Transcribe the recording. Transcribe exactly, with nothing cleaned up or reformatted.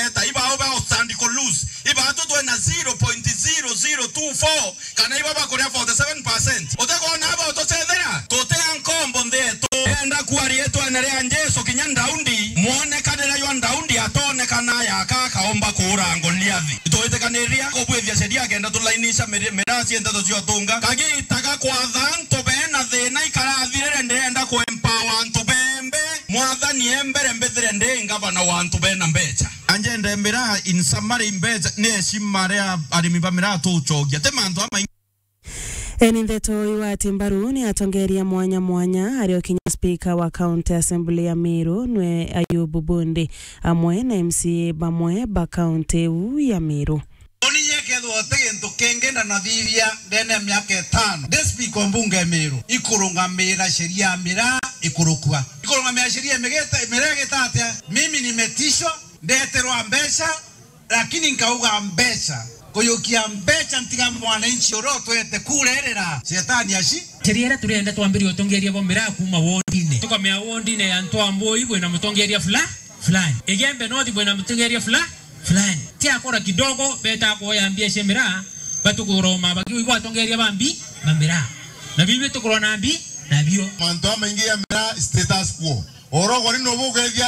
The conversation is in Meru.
ta ibao ba stand ku lose. Ibatu twena zero point zero zero two four, kana iba bakuria forty seven percent. Utekwona aba utucethera? Tutia nkombo nthi yetu. Enda kuaria itwene ria Jesu kinya Daudi, mwonekanire jwa Daudi atonekana yaka akaomba kuura Goliathi. Itwitikaniria kubwithia sheria kenda tulainisha miri-, miraa cia nteto cia utunga. Kagita ga kwatha antu bena thina ikarathirire, ndirenda ku empower antu bembe. Mwathani e mbere mbithire ndi ngavana wa antu bena mbecha. Anjende miraa in summary mbecha ni heshima ria arimi ba miraa tucokia. Ti mantu amaingi. Eni ndeto iwati mbaru ni atongeria mwanya mwanya, ario kinya speaker wa County Assembly ya Meru nwe Ayubu Bundi, amwe na M C A bamwe ba county iu ya Meru. Uni nyekethwa uti gintu kingi ndanathithia ndene ya miaka itano ndi speaker wa mbunge ya Meru, ikurungamira sheria ya miraa ikurukua. Ikurungamira sheria imigita-, miraa igita atia? Mimi nimetishwa, ndeterwa mbeca, lakini nkauga mbeca. Kuyukia mbeca ntiga mwananchi uria utwete kura irira. Shetani aci. Sheria iria turenda twambirie utongeria bwa miraa kuuma wondine. Tukamea wondine ya Ntwambui bwina mutongeria fula-, fulani. Igembe North bwina mutongeria fula-, fulani. Tiakora kidogo, beta kuoya mbia cia miraa, batukugura mabagi, uigwa atongeria ba mbi-, ba miraa. Na bibi tukurwa na mbi-, nabio. Mantu amaingi ya miraa status quo. Oro gori no bugethia